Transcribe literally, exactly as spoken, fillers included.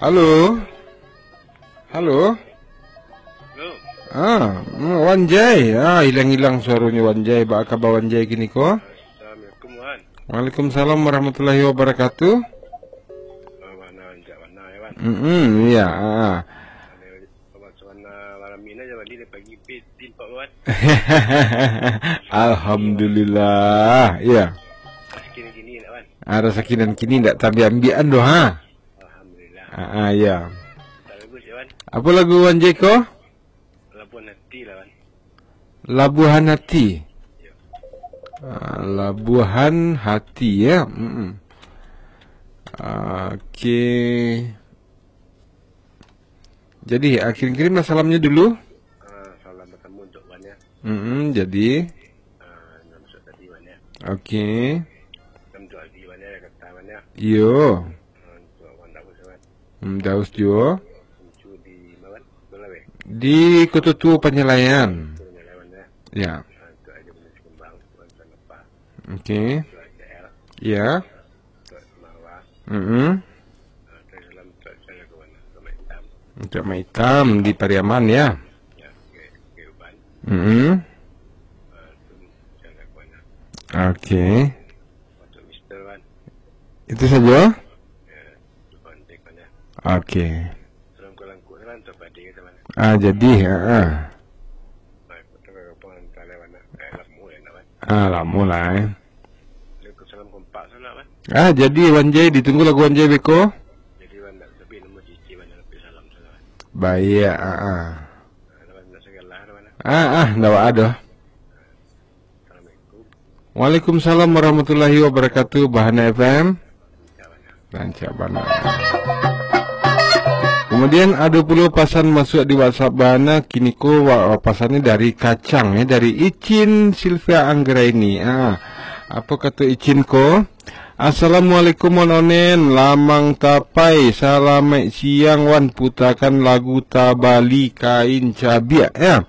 Halo? Halo? Halo. Ah, hmm, Wan Jai. Ah, hilang-hilang suaronyo Wan Jai. Baa kaba Wan Jai kini ko? Assalamualaikum, Wan. Waalaikumsalam warahmatullahi wabarakatuh. Ah, Wan, Wan, Wan, Wan, ya, Wan. Mm-mm, iya, ah, ah. Wan, Wan, Wan, malam ini aja, Wan, dari pagi, pi, timpak, Wan. Alhamdulillah, iya. Kini-kini, Wan. Ah, rasaki nan kini ndak taambiak-ambiakan doh, ha? Alhamdulillah. Ah, ah, iya. Tak lagu, Wan. Apa lagu Wan Jai ko? Labuhan Hati lah, Wan. Labuhan Hati. Yo. Ah, Labuhan Hati, ya. Mm-mm. Oke. Jadi, ah, kirim-kirimlah salamnya dulu. Ah, salam pertama untuk Wan, ya. Mm-mm, jadi. Ah, nan masuk tadi, Wan, ya. Oke. Nan untuk Aldi, Wan, ya, kata Wan, ya. Iyo. Ah, untuk Wan Daus, Wan. Hmm, Daus juo. Untuk di mana, Wan? Mana, weh? Di Kota Tua Panyalaian. Kota Tua Panyalaian, Wan, ya. Ya. Ah, untuk Aja Bunda Sikumbang, Wan, Wan, apa? Oke. Untuk Aja L. Ya. Untuk Marwah. Mm-mm. Ah, terus salam untuk Aja Lagu Wan, Wan Hitam. Untuk Mak Hitam di Pariaman, ya. Ya, oke, oke, Uban. Mm-mm. Ah, itu Aja Lagu Wan, Wan. Oke. Untuk Mister Wan. Itu saja? Ya, itu Wan, Wan, ya. Oke. Salam kalangkuk, salam untuk Padi, kita, Wan. Ah, jadi, ha, ha. Baik, betul, Wan, Wan, Wan, Wan. Eh, lamo, ya, Wan. Ah, lamo lah, eh. Waalaikumsalam, kompak sanak, Wan. Ah, jadi Wan Jai, ditunggu lagu Wan Jai beko. Jadi, Wan, nak tapi nombor cici, Wan, nak tapi salam sanak, Wan. Baik, ah, ah. Ah, Wan, nak segala, Wan. Ah, ah, ndak ada. Assalamualaikum. Waalaikumsalam warahmatullahi wabarakatuh, Bahana F M. Rancak bana. Kemudian, ado pulo pasan masuak di WhatsApp Bahana, kiniko wa-, pasannyo dari Kacang, ya, dari Icin Silvia Anggraini. Ah, apo kato Icin ko? "Assalamualaikum, Wan Onen, Lamang Tapai, salamaik siang, Wan, putakan lagu Tabali Kain Cabiak, ya."